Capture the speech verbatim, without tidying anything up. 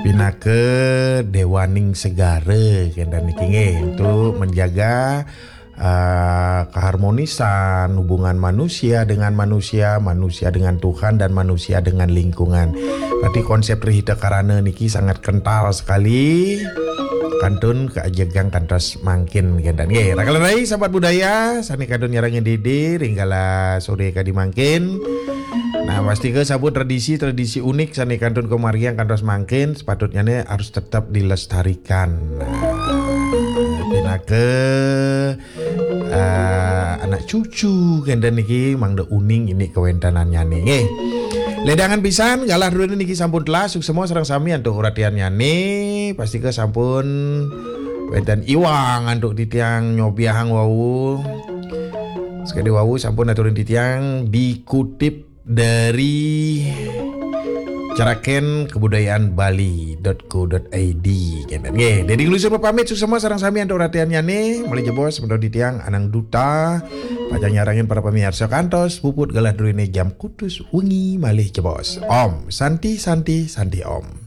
Pinaka dewaning segara kenten niki nggih, untuk menjaga uh, keharmonisan hubungan manusia dengan manusia, manusia dengan Tuhan, dan manusia dengan lingkungan. Berarti konsep Tri Hita Karana niki sangat kental sekali. Kantun keajegang kantos mangkin kenten nggih. Raka rai sahabat budaya, sane kantun nyarengin didi ring galah sore kadi mangkin. Nah, pastika sampun tradisi-tradisi unik sane kantun kamargiang kantos mangkin, sepatutnyane harus tetap dilestarikan. Nah, pinaka uh, anak cucu kenten niki mangda uning ini kawentenannyane nggih. Ledangan pisan galah druene niki sampun telah, suksema sareng sami antuk uratiannyane, pastika sampun wenten iwang antuk titiang nyobiahang wau. Sekadi wau sampun aturin titiang dikutip dari Ceraken Kebudayaan Bali dot co dot id kenten nggih. Dadi nglusu pamit, suksema sareng sami antuk uratiannyane, malih jebos semeton titiang Anang Duta pacang nyarengin para pamiarsa kantos puput galah druene jam kutus wengi malih jebos. Om Santi Santi Santi Om.